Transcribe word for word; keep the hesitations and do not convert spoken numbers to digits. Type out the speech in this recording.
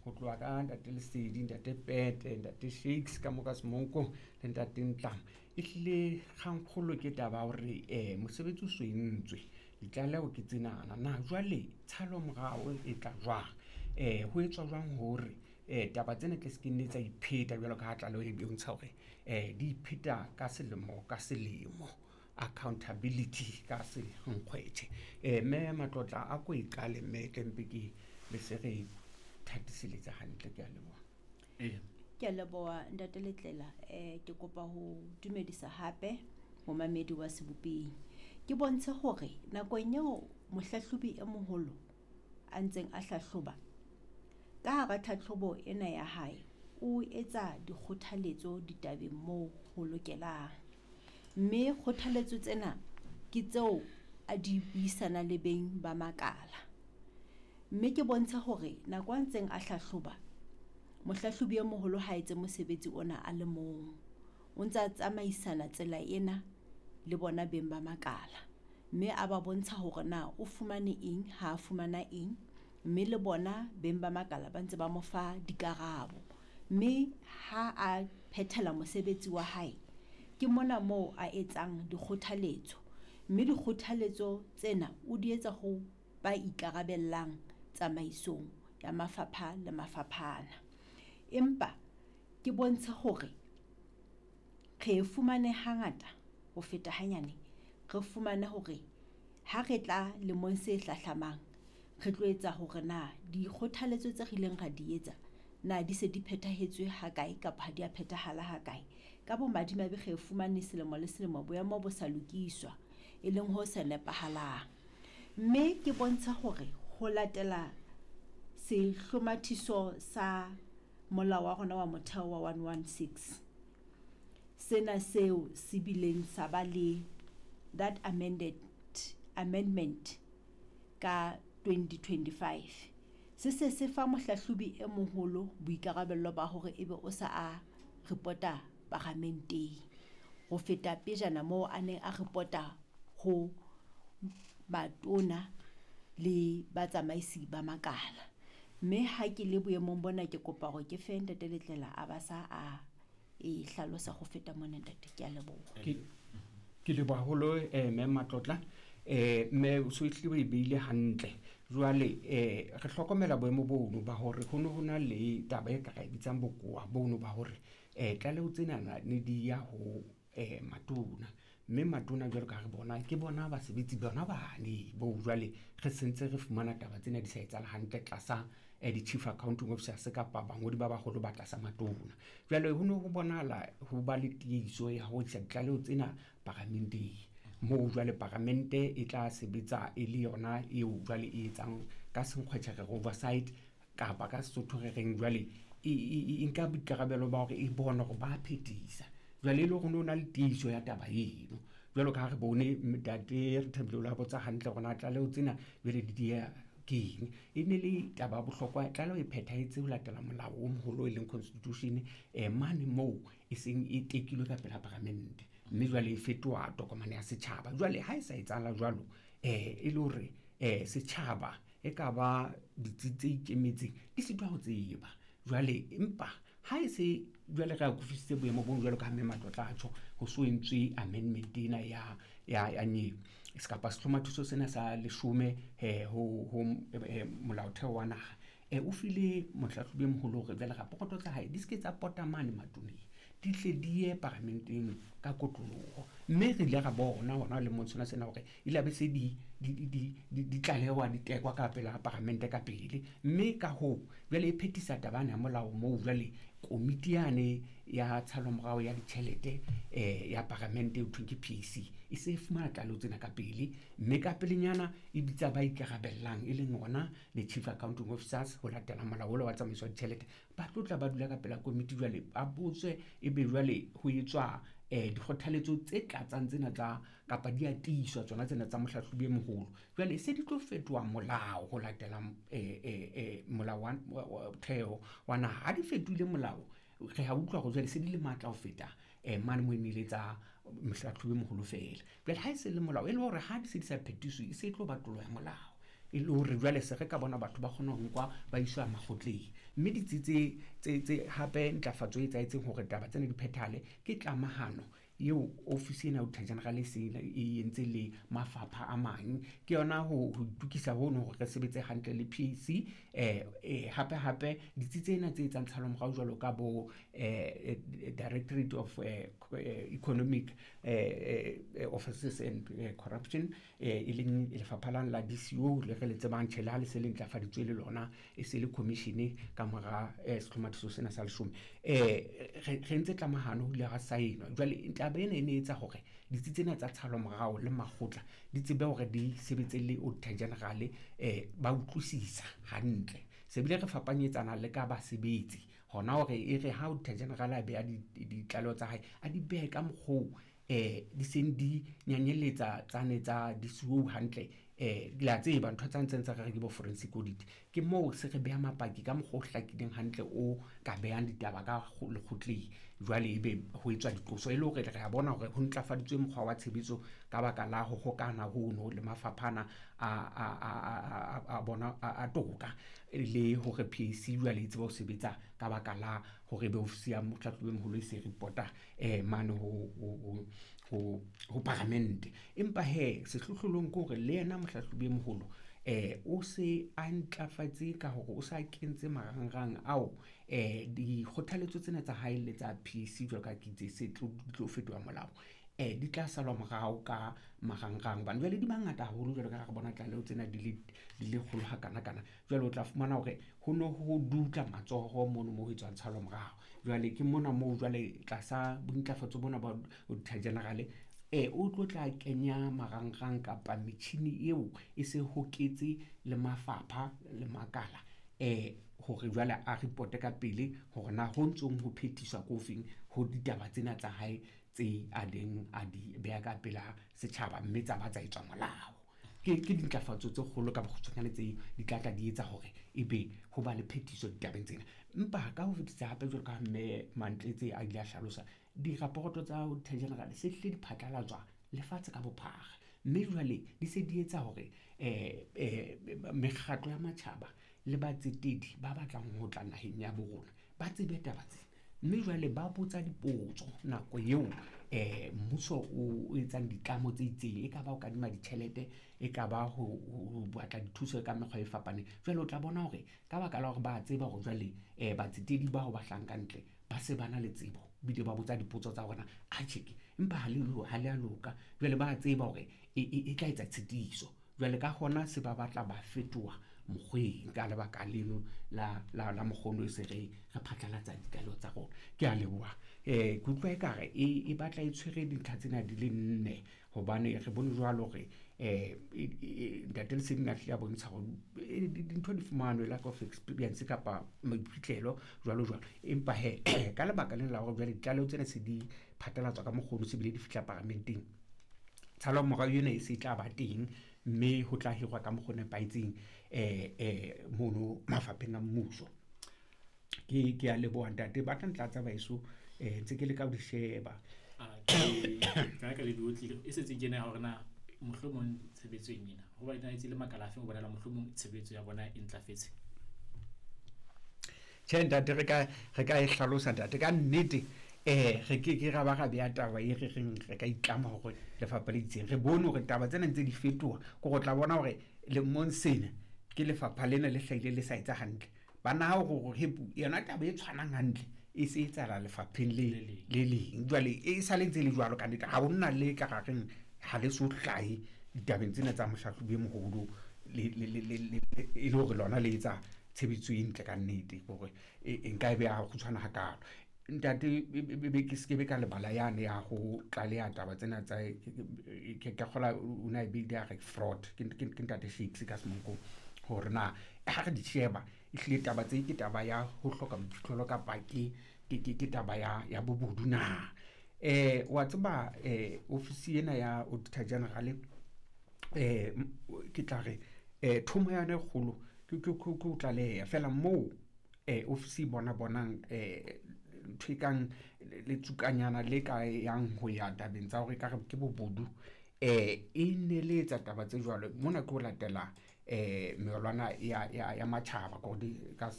Ho tloha ka ntate Lesedi, ntate Pete, ntate Shakes ka moka Semonko le ntate Ntlama. Ehlile kgangkgolo ke taba ya hore um mosebetsi o so entswe, ditlaleho ke tsenana. Na jwale tshalo morao e tla jwang? Um ho etswa jwang hore um taba tsena tle se ke nne tsa ipheta jwalo ka ha tlaleho e bontsha hore um di ipheta ka selemo ka selemo. Accountability ka senkgwetjhe. Um mme Matlotla a ko e qale mme tle mpe ke be se re thatiseletsa hantle. Ke a leboha. Ee. Ke a leboha ntate Letlela. Eh ke kopa ho dumedisa hape momamedi wa Sebopeng. Ke bontshe hore nakong eo mohlahlobi e moholo a ntseng a hlahloba, ka hara tlhahlobo ena ya hae o etsa dikgothaletso ditabeng moo ho lokelang. Mme kgothaletso tsena ke tseo a di buisana le beng ba makala. Mme ke bontshe hore nako a ntseng a hlahloba, mohlahlobi e moholo ha etse mosebetsi ona a le mong. O ntsa tsamaisana tsela ena le bona beng ba makala. Mme a ba bontsha hore na o fumane eng, ha a fumana eng, mme le bona beng ba makala ba ntse ba mo fa dikarabo. Mme ha a phethela mosebetsi wa hae, ke mona moo a etsang dikgothaletso. Mme dikgothaletso tsena o di etsa ho ba ikarabellang tsamaisong ya mafapha le mafaphana. Empa ke bontshe hore re fumane hangata ho feta hanyane, re fumane hore ha re tla lemong se hlahlamang, re tlo etsa hore na dikgothaletso tse re ileng ra di etsa na di se di phethahetse ha kae kapa ha di a phethahala ha kae. Ka bomadimabe re fumane selemo le selemo boemo bo sa lokiswa, e leng ho sa nepahalang. Mme ke bontsha hore ho latela sehlomathiso sa molao wa rona wa motheo wa one one six, sena seo se bileng sa ba le that amended amendment ka twenty twenty-five. Se se se fa mohlahlobi e moholo boikarabello ba hore ebe o sa a repota paramenteng ho feta pejana moo a neng a repota ho batona le batsamaisi ba makala. Mme ha ke le boemong bona ke kopa hore ke fe ntate Letlela a ba sa a e hlalosa ho feta mona ntate. Ke a leboha. Ke ke leboha haholo eh mme Matlotla. Eh mme o so ehlile o e beile hantle. Jwale eh re hlokomela boemo bono ba hore ho no ho na le taba e ka re bitsang bokowa bono ba hore eh tlaleho tsenana ne di ya ho eh matona, mme matona jwalo ka ha re bona ke bona basebetsi bona bane bo jwale re sentse re fumana taba tsena di sa etsahala hantle tlasa eh di-chief accounting officers kapa bangodi ba baholo ba tlasa matona. Jwale ho no ho bonahala ho ba le tiiso ya ho isa ditlaleho tsena paramenteng, moo jwale paramente e tla sebetsa e le yona eo jwale e etsang ka senkgwetjhe re oversight kapa ka Sesotho re reng jwale e e nka boikarabelo ba hore e bone hore ba phethisa. Jwale e le hore ho no na le tiiso ya taba eno. Jwalo ka ha re bone ntate re thabile o la botsa hantle hore na tlaleho tsena jwale di dieha ke eng. E ne le taba ya bohlokwa, tlaleho e phethahetse ho latela molao o moholo e leng constitution eh mane moo e seng e tekilwe ka pela paramente, mme jwale e fetoha tokomane ya setjhaba. Jwale ha e sa etsahala jwalo eh e le hore eh setjhaba e ka ba ditsi tse ikemetseng di sitwa ho tseba. Jwale empa ha e se jwale re akofisitse boemo bo jwalo ka ha mme Matlotla a tjho, ho so entswe amendment ena ya ya ya nyewe kapa sehlomathiso sena sa leshome eh ho ho molaotheo wa naha eh o file mohlahlobi e moholo hore jwale raporoto tsa hae di se ke tsa pota mane matoneng, di tle di ye paramenteng ka kotloloho. Mme re ile ra bona hona lemong sona sena hore ile be se di di di di di tlalewa di tekwa ka pela paramente ka pele. Mme ka hoo jwale e phethisa taba ya molao moo jwale komiti yane ya tshalomorao ya ditjhelete eh ya paramente e thweng ke P A C e se e fumana tlaleho tsena ka pele, mme ka pelenyana e bitsa ba ikarabellang e leng ona le chief accounting officers ho latela molao wa tsamaiso ya ditjhelete. Ba tlo tla ba dula ka pela komiti jwale ba botswe, ebe jwale ho etswa eh dikgothaletso tse tlatsang tsena tsa kapa di a tiiswa tsona tsena tsa mohlahlobi e moholo. Jwale se di tlo fetoha molao ho latela eh eh eh molao wa theo wa naha. Ha di fetohile molao re ha utlwa hore jwale se di le matla ho feta eh mane mo e ne le tsa mohlahlobi e moholo feela. Jwale ha e se le molao e le hore ha di se di sa phethiswe e se e tlo ba tlolo ya molao. E le hore jwale se re ka bona batho ba kgona ho nkwa ba iswa makgotleng. Mme ditsi tse tse tse hape ntlafatso e etsahetseng hore taba tsena di phethahale ke tlamahano eo ofisi ena ya Auditor General e seng e entse le mafapha a mang. Ke yona ho ho itukisa hono hore re sebetse hantle le P A C. Eh, eh, hape hape ditsi tsena tse etsang tshalomorao jwalo ka bo, eh, Directorate of, eh, Economic, eh, eh, Offices and, eh, Corruption, eh, e leng lefapha la la D C O le re le tsebang tjhe, le ha le se le ntlafaditswe le lona, e se le commission ka mora, eh, sehlomathiso sena sa leshome. Eh, re, re entse tlamahano ho ile ha saenwa. Jwale taba ena e ne etsa hore ditsi tsena tsa tshalomorao le makgotla di tsebe hore di sebetse le Auditor General, eh, ba utlwisisa hantle. Se bile re fapanyetsana le ka basebetsi hona hore e re ha Auditor General a beha di-, di-, ditlaleho tsa hae, a di behe ka mokgwa oo, eh, di seng di nyanyeletsa tsane tsa D C O hantle. Eh, le a tseba ntho tsa ntseng tsa re ke bo forensic audit. Ke moo se re beha mapaki ka mokgwa o hlakileng hantle o ka behang ditaba ka kgo-, lekgotleng. Jwale ebe ho etswa diqoso e le hore re a bona hore ho ntlafaditswe mokgwa wa tshebetso ka baka la ho hokana hono le mafapha ana a, a, a, a, a, a bona, a, a toka, le hore P A C jwale e tsebe ho sebetsa ka baka la hore ebe ofisi ya mohlahlobi e moholo e se reporta, eh, mane ho, ho, ho, ho, ho paramente. Empa he, sehlohlolong ke hore le yena mohlahlobi e moholo, eh, o se a ntlafatse ka hore o sa kentse marangrang ao, eh, dikgothaletso tsena tsa hae le tsa P A C jwalo ka ke itse se tlo, di tlo fetoha molao, eh, di tla salwa morao ka marangrang. Hobane jwale di mangata haholo jwalo ka ha re bona tlaleho tsena di le, di le kgolo hakanakana. Jwale o tla fumana hore ho no ho dutla matsoho mono moo ho etswang tshalo morao. Jwale ke mona moo jwale tlasa bontlafatso bona ba Auditor General, eh, o tlo tla kenya marangrang kapa metjhini eo e se hoketse le mafapha le makala, eh, hore jwale a reporte ka pele hore na ho ntsong ho phethiswa ko feng ho ditaba tsena tsa hae tse a leng a di beha ka pela setjhaba, mme tsa ba tsa etswa molao. Ke, ke dintlafatso tse kgolo ka bokgutshwanyane tse di tla tla di etsa hore ebe ho ba le phethiso ditabeng tsena. Empa ka ho fetisa hape jwalo ka mme Mantletse a ile a hlalosa, diraporoto tsa Auditor General se hlile di phatlalatswa lefatshe ka bophara, mme jwale di se di etsa hore, eh, eh, mekgatlo ya matjhaba le batsetedi ba batlang ho tla naheng ya bo rona ba tsebe taba tsena, mme jwale ba botsa dipotso nako eo, eh, mmuso o, o etsang ditlamo tse itseng, e ka ba ho kadima ditjhelete, e ka ba ho, ho, ho batla dithuso ka mekgwa e fapaneng. Jwale o tla bona hore ka baka la hore ba tseba hore jwale, eh, batsetedi bao ba hlahang ka ntle ba se ba na le tsebo, ebile ba botsa dipotso tsa hore na, atjhe ke, empa ha le lo-, ha le a loka. Jwale ba tseba hore e, e, e tla etsa tshitiso. Jwale ka hona se ba batla ba fetoha mokgweng ka lebaka leno la, la, la mokgono e se re, re phatlalatsa ditlaleho tsa rona. Ke a leboha. Eh, ke utlwa ekare e, e batla e tshwere dintlha tsena di le nne, hobane re bone jwalo hore, eh, e, e, e, Ntate Leseding a hlile a bontsha hore, eh, di-, dintho di fumanwe, lack of experience kapa maiphihlelo jwalo jwalo. Empa he, ka lebaka lena la hore jwale ditlaleho tsena se di phatlalatswa ka mokgono, se bile di fihla paramenteng, tshalomorao ena e se tla ba teng, mme ho tla hirwa ka mokgwa o nepahetseng, eh, eh, mono mafapheng a mmuso. Ke, ke a leboha ntate, ba tla ntlatsa baheso, eh, ntse ke leka ho di sheba. Ah, ke, ka ka le di otlile, e setse ke ena ya hore na mohlomong tshebetsong ena, ho ba ena e le makala afe ho bonala mohlomong tshebetso ya bona e ntlafetse? Tjhe ntate, re ka, re ka e hlalosa ntate ka nnete. Eh, re ke ke ra ba ra beha taba e re reng re ka itlama hore lefapha le itseng. Re bone hore taba tsena ntse di fetoha, ke hore o tla bona hore lemong sena ke lefapha lena le hlahile le sa etsa hantle. Ba naha hore hore hepu yona taba e tshwanang hantle e se etsahala lefapheng le Le leng. le leng. Jwale e sa le ntse le jwalo ka nnete, ha ho na le ka reng ha le so hlahe ditabeng tsena tsa mohlahlobi e moholo le, le, le, le, le, e le hore lona le etsa tshebetso e ntle ka nnete, hore e, e nka e beha kgutshwane hakalo. Ntate, e, e, e, be ke se ke be ka lebala yane ya ho tlaleha taba tsena tsa, ke, ke, ke, ke kgola o na e beile a re fraud, ke, ke, ke ntate Shakes ka Semonkong, hore na ha re di sheba ehlile taba tse ke taba ya ho hloka boiphihlelo kapa ke, ke, ke, ke taba ya, ya bobodu na. Eh, wa tseba, eh, ofisi ena ya Auditor General, eh, m-, ke tla re, eh, thomo ya yona e kgolo ke, ke, ke, ke ho tlaleha feela moo, eh, ofisi e bona bonang, eh, ntho e kang letsukanyana le ka yang ho ya tabeng tsa hore ekare ke bobodu, eh, e ne le etsa taba tse jwalo. Mona ke ho latela, eh melwana ya ya ya matjhaba ka ka